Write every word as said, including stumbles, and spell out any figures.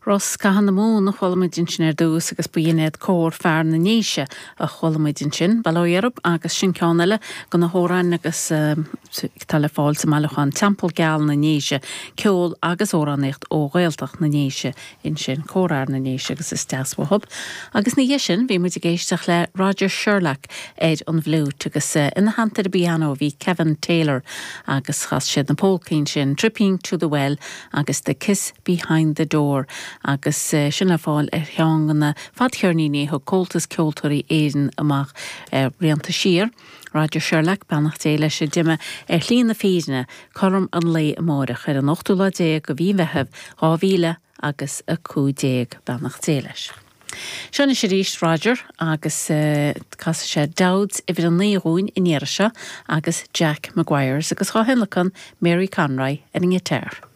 Rosc Catha na Mumhan a chuala muid ansin ar dtús agus ba in iad Cór Fear na nDéise a chuala muid ansin, Bail ó Dhia orthu agus sin ceann eile de na hamhráin agus tá le fáil sa mbailiúchán Teampall Geal na nDéise, ceol agus amhránaíocht ó Ghaeltacht na nDéise ansin Cór Fhear na nDéise agus is deas uathub. Agus ina dhiaidh sin bhí muid ag éisteacht le Roger Sherlock ar an bhfliúit agus ina theannta ar an bpianó bhí Kevin Taylor agus chas siad na polcaí sin Tripping to the Well agus The Kiss Behind the Door agus sin le fáil ar cheann de na fadcheirníní thug Comhaltas Ceoltóirí Éireann amach blianta siar. Roger Sherlock beannacht Dé leis a d'imigh ar shlí na fírinne cothrom an lae amárach ar an ochtú lá déag de mhí Mheithimh dhá mhíle agus a cúig déag beannacht Dé leis. Seo anois arís Roger agus uh, casfaidh sé Dowds uimhir a naoi dúinn an iarraidh seo agus Jack Maguire's agus á thionlacan Mary Conroy ar an ngiotár.